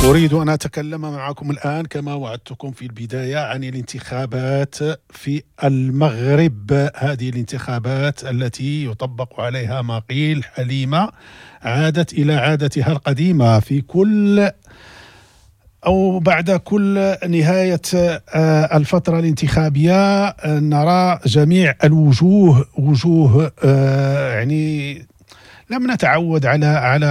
أريد أن أتكلم معكم الآن كما وعدتكم في البداية عن الانتخابات في المغرب، هذه الانتخابات التي يطبق عليها ما قيل حليمة عادت إلى عادتها القديمة في كل أو بعد كل نهاية الفترة الانتخابية. نرى جميع الوجوه، وجوه يعني لم نتعود على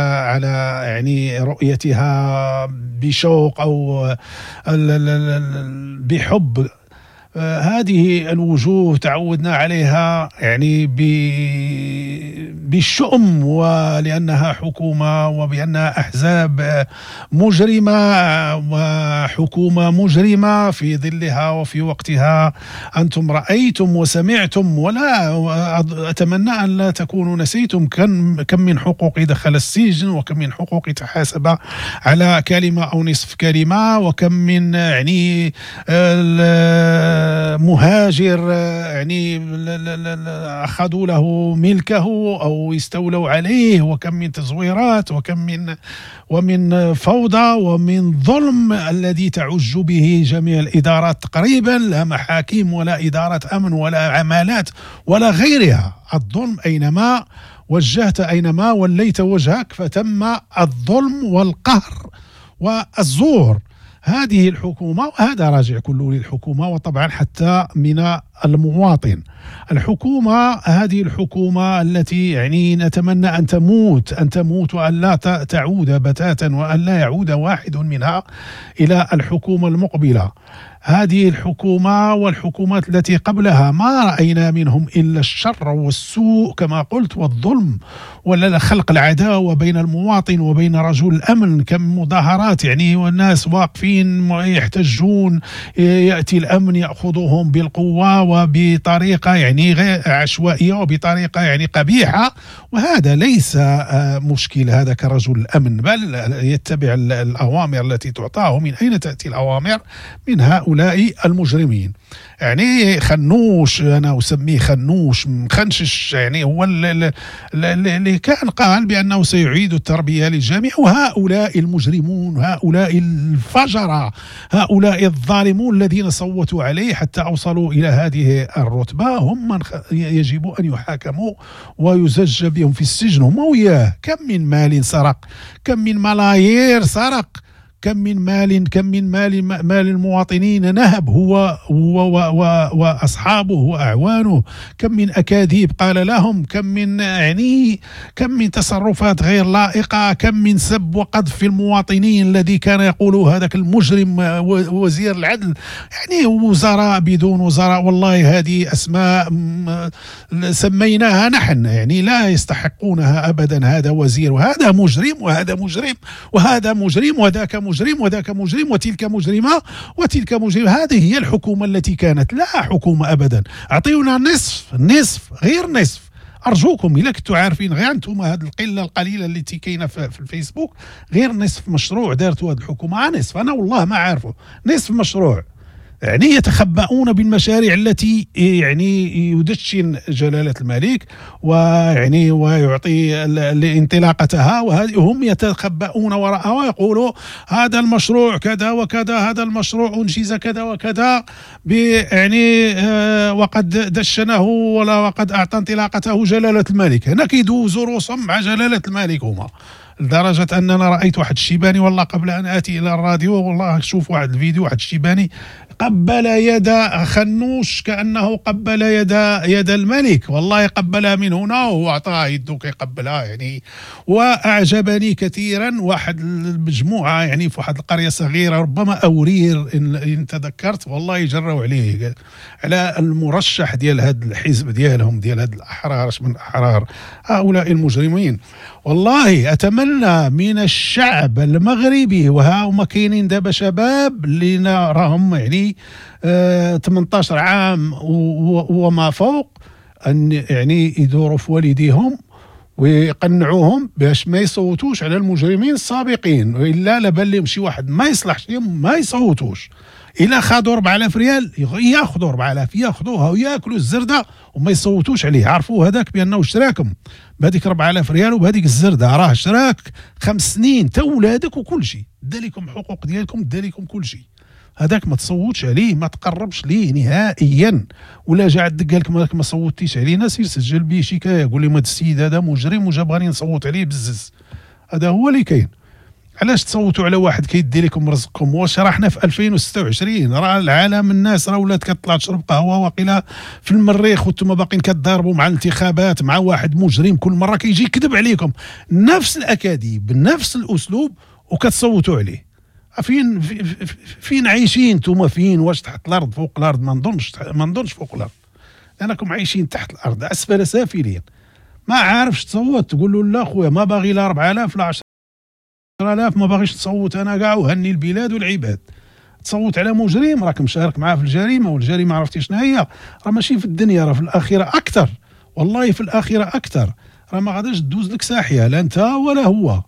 يعني رؤيتها بشوق أو بحب. هذه الوجوه تعودنا عليها يعني بالشؤم، ولأنها حكومة وبأنها أحزاب مجرمة وحكومة مجرمة في ظلها وفي وقتها. أنتم رأيتم وسمعتم، ولا أتمنى أن لا تكونوا نسيتم كم من حقوق دخل السجن، وكم من حقوق تحاسب على كلمة أو نصف كلمة، وكم من يعني مهاجر يعني أخذوا له ملكه أو استولوا عليه، وكم من تزويرات، وكم من فوضى ومن ظلم الذي تعج به جميع الإدارات تقريبا، لا محاكم ولا إدارة أمن ولا عمالات ولا غيرها. الظلم أينما وجهت، أينما وليت وجهك فتم الظلم والقهر والزور. هذه الحكومة، وهذا راجع كله للحكومة وطبعا حتى من المواطن. الحكومة، هذه الحكومة التي يعني نتمنى أن تموت، أن تموت وأن لا تعود بتاتا، وأن لا يعود واحد منها إلى الحكومة المقبلة. هذه الحكومة والحكومات التي قبلها ما رأينا منهم إلا الشر والسوء كما قلت، والظلم، ولا خلق العداوة بين المواطن وبين رجل الأمن. كم مظاهرات يعني والناس واقفين يحتجون، يأتي الأمن يأخذهم بالقوة وبطريقة يعني غير عشوائية وبطريقة يعني قبيحة. وهذا ليس مشكل هذا كرجل الأمن، بل يتبع الأوامر التي تعطاه. من أين تأتي الأوامر؟ من هؤلاء المجرمين. يعني خنوش، أنا أسميه خنوش مخنشش، يعني هو اللي كان قال بأنه سيعيد التربية للجميع. وهؤلاء المجرمون، هؤلاء الفجرة، هؤلاء الظالمون الذين صوتوا عليه حتى أوصلوا إلى هذه الرتبة، هم من يجب أن يحاكموا ويزج بهم في السجن، هم وياه. كم من مال سرق، كم من ملايير سرق، كم من مال، كم من مال المواطنين نهب هو وأصحابه وأعوانه، كم من أكاذيب قال لهم، كم من يعني كم من تصرفات غير لائقة، كم من سب وقذف في المواطنين الذي كان يقوله هذاك المجرم وزير العدل. يعني وزراء بدون وزراء، والله هذه أسماء سميناها نحن، يعني لا يستحقونها أبدا. هذا وزير وهذا مجرم وهذا مجرم وهذا مجرم وذاك مجرم وذاك مجرم وتلك مجرمة وتلك مجرمة. هذه هي الحكومة التي كانت، لا حكومة أبدا. أعطيونا نصف، نصف غير نصف، أرجوكم. إلا كنتوا عارفين غير أنتم هذه القلة القليلة التي كاينة في الفيسبوك، غير نصف مشروع دارتوا هذه الحكومة، نصف، أنا والله ما عارفه، نصف مشروع. يعني يتخبؤون بالمشاريع التي يعني يدشن جلالة الملك ويعني ويعطي لانطلاقتها، وهم يتخبؤون وراءها ويقولوا هذا المشروع كذا وكذا، هذا المشروع أنجز كذا وكذا، يعني وقد دشنه ولا وقد أعطى انطلاقته جلالة الملك. هنا كيدوزوا رؤوسهم مع جلالة الملك هما، لدرجة أننا رأيت واحد الشيباني والله قبل أن آتي إلى الراديو، والله شوف واحد الفيديو، واحد الشيباني قبل يد خنوش كأنه قبل يد الملك، والله قبلها من هنا وهو أعطاها يده كيقبلها يعني. وأعجبني كثيرا واحد المجموعة يعني في واحد القرية صغيرة، ربما أورير إن تذكرت، والله جروا عليه على المرشح ديال هذا الحزب ديالهم، ديال هاد الأحرار، من الأحرار هؤلاء المجرمين. والله أتمنى من الشعب المغربي، وها هما كاينين دابا شباب اللي راهم يعني 18 عام وما فوق، أن يعني يدوروا في والديهم ويقنعوهم باش ما يصوتوش على المجرمين السابقين، والا لا بان لهم شي واحد ما يصلحش لهم ما يصوتوش. الا خادوا 4000 ريال ياخذوا 4000، ياخذوها وياكلوا الزرده وما يصوتوش عليه. عرفوا هذاك بانه شراكم بهذيك 4000 ريال وبهذيك الزرده، راه شراك 5 سنين تا ولادك وكل شيء، دا لكم حقوق ديالكم، دا لكم كل شيء. هذاك ما تصوتش عليه، ما تقربش ليه نهائيا. ولا جا عندك قال لك ما صوتيش علينا، سير سجل به شكاية، قول لهم هذا السيد هذا مجرم وجا بغاني نصوت عليه بزز. هذا هو اللي كاين. علاش تصوتوا على واحد كيدي لكم رزقكم؟ واش راه حنا في 2026، راه العالم الناس راه ولات كتطلع تشرب قهوة وقيله في المريخ، وانتم باقيين كتضاربوا مع الانتخابات مع واحد مجرم كل مرة كيجي يكذب عليكم نفس الاكاذيب بنفس الاسلوب وكتصوتوا عليه. فين عايشين انتم؟ فين؟ واش تحت الارض فوق الارض؟ ما نظنش فوق الارض، لانكم عايشين تحت الارض اسفل سافلين. ما عارفش تصوت، تقول له لا خويا ما باغي لا 4000 لا 10000، ما باغيش تصوت انا كاع، وهني البلاد والعباد. تصوت على مجرم راك مشارك معاه في الجريمة، والجريمه عرفتي شنو هي؟ راه ماشي في الدنيا، راه في الاخرة اكثر، والله في الاخرة اكثر. راه ما غاديش دوز لك ساحيه لا انت ولا هو،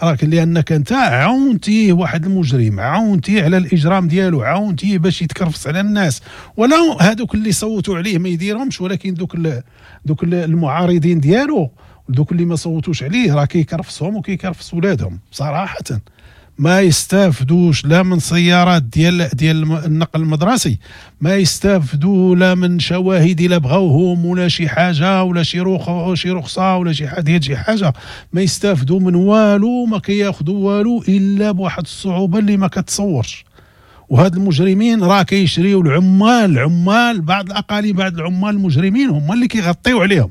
راك لانك انت عاونتيه واحد المجرم، عاونتيه على الاجرام ديالو، عاونتيه باش يتكرفس على الناس. ولو هذوك اللي صوتوا عليه ما يديرهمش، ولكن دوك المعارضين ديالو، دوك اللي ما صوتوش عليه، راه كيكرفسهم وكيكرفس ولادهم صراحة. ما يستافدوش لا من سيارات ديال النقل المدرسي، ما يستافدوا لا من شواهد الا بغاوهم ولا شي حاجة ولا شي رخصه ولا شي حاجة ديال شي حاجة، ما يستافدوا من والو، ما كياخذوا والو الا بواحد الصعوبة اللي ما كتصورش. وهاد المجرمين راه كيشريو العمال بعض الاقاليم، بعض العمال المجرمين هما اللي كيغطيو عليهم،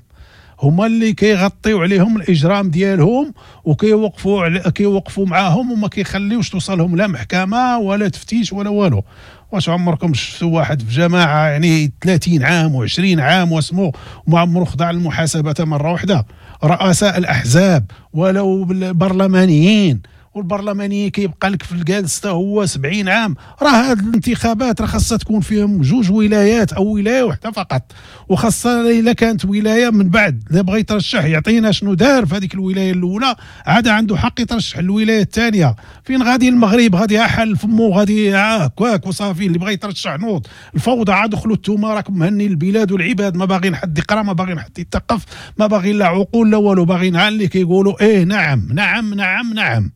هما اللي كيغطيو عليهم الاجرام ديالهم، وكيوقفوا معاهم وما كيخليوش توصلهم لا محكمة ولا تفتيش ولا والو. واش عمركم شفتوا واحد في جماعة يعني 30 عام و20 عام واسمو وما عمرو خضع للمحاسبة مرة واحدة؟ رؤساء الاحزاب ولو البرلمانيين، والبرلمانيين كيبقى لك في الجالس هو 70 عام. راه هاد الانتخابات راه خاصها تكون فيهم 2 ولايات او ولاية واحدة فقط، وخاصة الا كانت ولاية من بعد الا بغى يترشح يعطينا شنو دار في هذيك الولاية الاولى، عاد عنده حق يترشح الولاية الثانية. فين غادي المغرب؟ غادي حل فمو، غادي هكاك وصافي، اللي بغى يترشح نوض. الفوضى عاد دخلوا انتوما، راكم مهني البلاد والعباد، ما باغيين حد يقرا، ما باغيين حد يتثقف، ما باغيين لا عقول لا والو، باغيين على اللي كيقولوا ايه نعم نعم نعم نعم.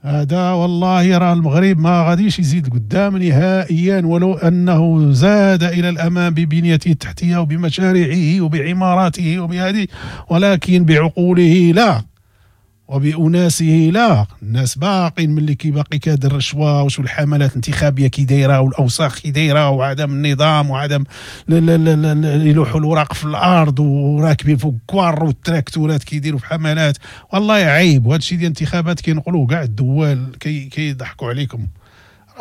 هذا والله راه المغرب ما غاديش يزيد قدام نهائيا، ولو انه زاد الى الامام ببنيته التحتية وبمشاريعه وبعماراته وبهذه، ولكن بعقوله لا، وبأناسه لا. الناس باقين من اللي كيباقي كاد الرشوة وشو الحملات الانتخابية كي دايرة والاوساخ كي دايرة وعدم النظام وعدم يلوحوا الوراق في الارض وراكبين فوق كوار والتراكتورات كيديروا في حملات. والله عيب. وهذا الشيء ديال الانتخابات كينقلوه كاع الدول، كيضحكوا عليكم.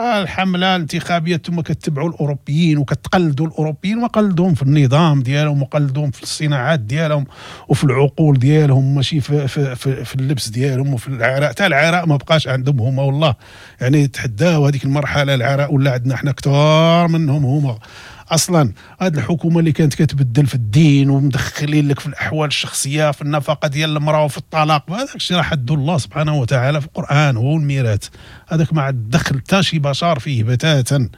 الحملة الانتخابية ثم كتبعوا الاوروبيين وكتقلدوا الاوروبيين، وقلدوهم في النظام ديالهم وقلدوهم في الصناعات ديالهم وفي العقول ديالهم، ماشي في, في, في, في اللبس ديالهم وفي العراء. حتى العراء ما بقاش عندهم هما، والله يعني تحداو هذيك المرحلة العراء ولا عندنا حنا كثار منهم هما اصلا. هذه الحكومة اللي كانت كتبدل في الدين ومدخلين لك في الاحوال الشخصية، في النفقة ديال المراة وفي الطلاق، هذاك الشيء راه حد الله سبحانه وتعالى في القران هو الميراث. هذاك ما عاد دخل حتى شي بشر فيه بتاتا.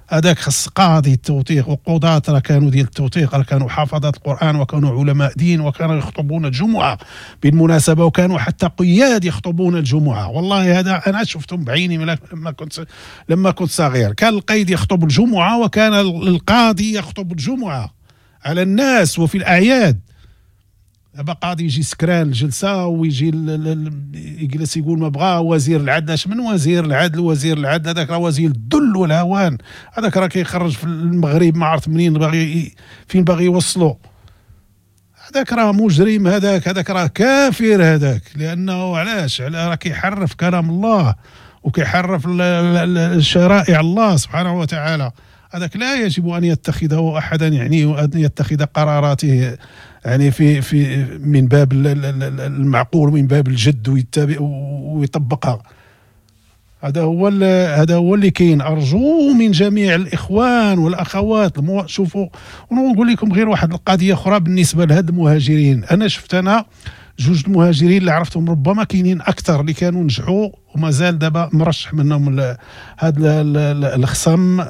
هذاك خص قاضي التوثيق، وقضاة راه كانوا ديال التوثيق، راه كانوا حافظات القرآن وكانوا علماء دين وكانوا يخطبون الجمعة بالمناسبة، وكانوا حتى قياد يخطبون الجمعة. والله هذا أنا شفتهم بعيني لما كنت صغير. كان القيد يخطب الجمعة وكان القاضي يخطب الجمعة على الناس وفي الأعياد. دابا قاضي يجي سكران الجلسة ويجي يجلس يقول ما بغا. وزير العدل، اش من وزير العدل؟ وزير العدل هذاك راه وزير الذل والهوان، هذاك راه كيخرج في المغرب ما عرفت منين باغي، فين باغي يوصلو. هذاك راه مجرم، هذاك راه كافر هذاك. لانه علاش؟ راه كيحرف كلام الله وكيحرف الشرائع الله سبحانه وتعالى. هذاك لا يجب ان يتخذه احدا، يعني ان يتخذ قراراته يعني في من باب المعقول ومن باب الجد ويتبع ويطبقها. هذا هو اللي كاين. ارجو من جميع الاخوان والاخوات شوفوا، ونقول لكم غير واحد القضية اخرى بالنسبة لهاد المهاجرين. انا شفت جوج المهاجرين اللي عرفتهم، ربما كاينين اكثر اللي كانوا نجحوا ومازال دابا مرشح منهم هذا الخصم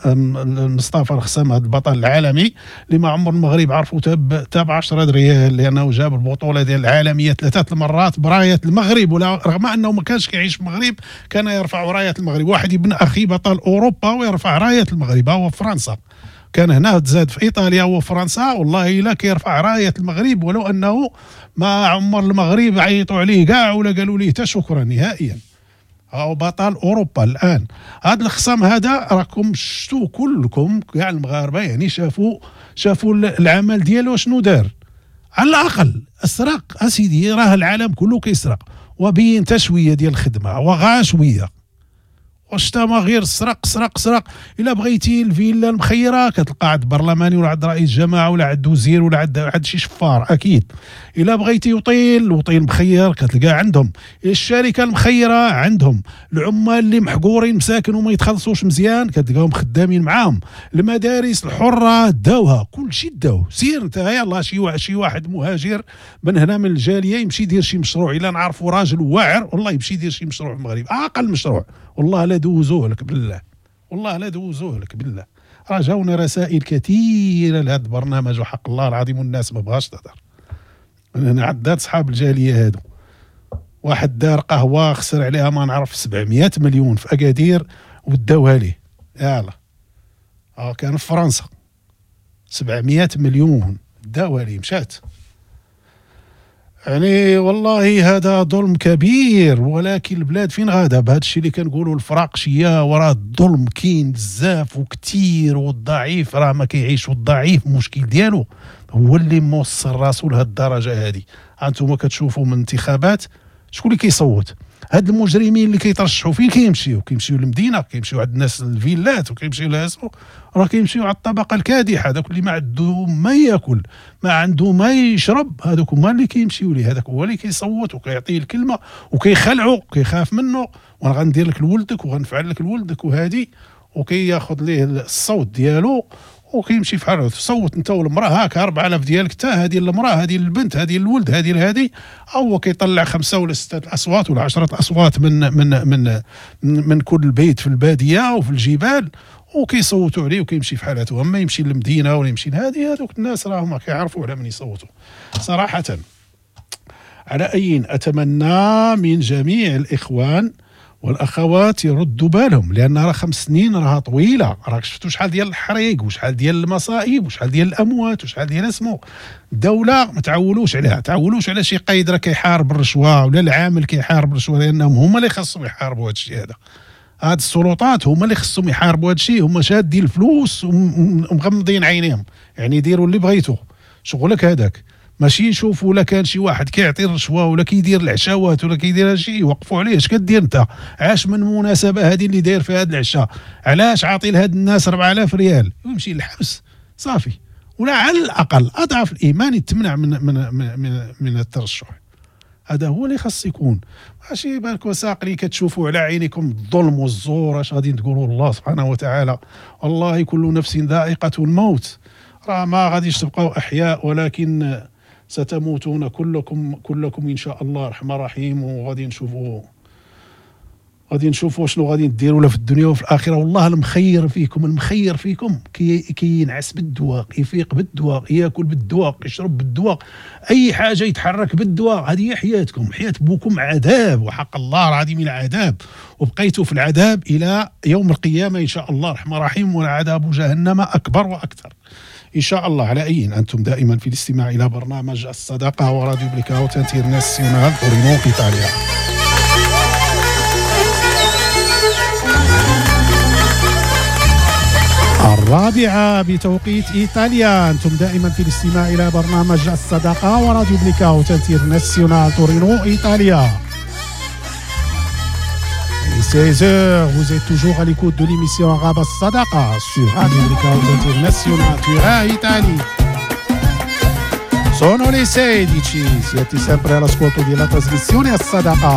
مصطفى الخصم، هذا البطل العالمي اللي ما عمر المغرب عرفوا تاب 10 ريال، لانه جاب البطولة ديال العالمية 3 المرات برايه المغرب، ولا رغم انه ما كانش كيعيش في المغرب كان يرفع رايه المغرب. واحد ابن اخي بطل اوروبا ويرفع رايه المغرب، هو في فرنسا، كان هنا تزاد في ايطاليا وفرنسا، والله الا كيرفع رايه المغرب، ولو انه ما عمر المغرب عيطوا عليه كاع ولا قالوا ليه حتى شكرا نهائيا. هو بطل اوروبا الان. هذا الخصم هذا راكم شفتوا كلكم كاع المغاربة، يعني شافوا العمل ديالو شنو دار. على الاقل اسرق اسيدي، راه العالم كله كيسرق، وبين تشويه ديال الخدمة وغا شوية، واش تا ما غير سرق سرق سرق. الا بغيتي الفيلا المخيره كتلقى عند برلماني ولا عند رئيس جماعة ولا عند وزير ولا عند شي شفار اكيد. الا بغيتي وطيل مخير كتلقى عندهم، الشركة المخيره عندهم، العمال اللي محقورين مساكن وما يتخلصوش مزيان كتلقاهم خدامين معاهم، المدارس الحرة داوها، كل شيء داوه. سير انت يلاه شي واحد مهاجر من هنا من الجالية يمشي يدير شي مشروع، الا نعرفوا راجل واعر والله يمشي يدير شي مشروع في المغرب، اقل مشروع والله لا دوزوه لك بالله، والله لا دوزوه لك بالله. راه جاونا رسائل كثيرة لهذا البرنامج وحق الله العظيم والناس ما بغاش تهضر. انا عدات صحاب الجالية هادو، واحد دار قهوة خسر عليها ما نعرف 700 مليون في اكادير وداوها ليه، يلا كان في فرنسا 700 مليون داوها ليه مشات. يعني والله هذا ظلم كبير، ولكن البلاد فين غادا بهذا الشيء اللي كنقولوا الفراقشيه، وراه الظلم كاين بزاف وكثير، والضعيف راه ما كيعيش، والضعيف المشكل ديالو هو اللي موصل راسو لهاد الدرجة هذه. انتم كتشوفوا من انتخابات شكون اللي كيصوت، هاد المجرمين اللي كيترشحوا فين كيمشيو؟ كيمشيو للمدينة، كيمشيو عند الناس الفيلات، وكيمشيو لهاسو، راه كيمشيو على الطبقة الكادحه، هذاك اللي ما عنده ما ياكل ما عنده ما يشرب، هذوك هما اللي كيمشيو ليه، هذاك هو اللي كيصوت وكيعطيه الكلمة وكيخلعو وكيخاف منه، وانا غندير لك لولدك وغنفعل لك لولدك وهادي، وكياخذ ليه الصوت ديالو وكيمشي في حاله. صوت انت والمراة هاك 4000 ديالك، حتى هذه المراة، هذه البنت، هذه الولد، هذه هذه، او كيطلع 5 ولا 6 اصوات ولا 10 اصوات من من من من كل بيت في البادية وفي الجبال، وكيصوتوا عليه وكيمشي في حالته. اما يمشي للمدينة ولا يمشي لهذه، هذوك الناس راهم كيعرفوا على من يصوتوا صراحة. على اي، اتمنى من جميع الاخوان والاخوات يردوا بالهم، لان راه 5 سنين راها طويلة، راك شفتوا شحال ديال الحريق وشحال ديال المصائب وشحال ديال الاموات وشحال ديال اسمو. الدولة ما تعولوش عليها، تعولوش على شي قايد راه كيحارب الرشوة ولا العامل كيحارب الرشوة، لانهم هما اللي خصهم يحاربوا هذا الشيء هذا. هاد السلطات هما اللي خصهم يحاربوا هذا الشيء، هما شادين الفلوس ومغمضين عينيهم، يعني ديروا اللي بغيتو، شغلك هذاك. ماشي نشوفوا ولا كان شي واحد كيعطي الرشوة ولا كيدير العشاوات ولا كيدير هادشي يوقفوا عليه. اش كدير انت؟ عاش من مناسبة هذه اللي داير فيها هذا العشاء؟ علاش عاطي لهاد الناس 4000 ريال؟ يمشي للحبس صافي، ولا على الاقل اضعف الايمان يتمنع من من من من الترشح. هذا هو اللي خاص يكون. ماشي بالك وساق كتشوفوا على عينيكم الظلم والزور، اش غادي تقولوا الله سبحانه وتعالى؟ والله كل نفس ذائقة الموت، راه ما غاديش تبقاو احياء، ولكن ستموتون كلكم ان شاء الله الرحمن الرحيم. وغادي نشوفوا شنو غادي نديروا لا في الدنيا وفي الاخرة. والله المخير فيكم، المخير فيكم كينعس بالدواء، يفيق بالدواء، ياكل بالدواء، يشرب بالدواء، اي حاجة يتحرك بالدواء. هذه هي حياتكم، حياة بوكم عذاب، وحق الله العظيم العذاب، وبقيتوا في العذاب الى يوم القيامة ان شاء الله الرحمن الرحيم. والعذاب جهنم اكبر واكثر إن شاء الله. على أي، أنتم دائما في الاستماع إلى برنامج الصداقة وراديو Blackout Internazionale تورينو إيطاليا. الرابعة بتوقيت إيطاليا، أنتم دائما في الاستماع إلى برنامج الصداقة وراديو Blackout Internazionale تورينو إيطاليا. 16h, vous êtes toujours à l'écoute de l'émission Arabe Sadaqa sur Radio Blackout International Turin, Italie. Sono le 16, siete sempre all'ascolto della trasmissione As Sadaqa.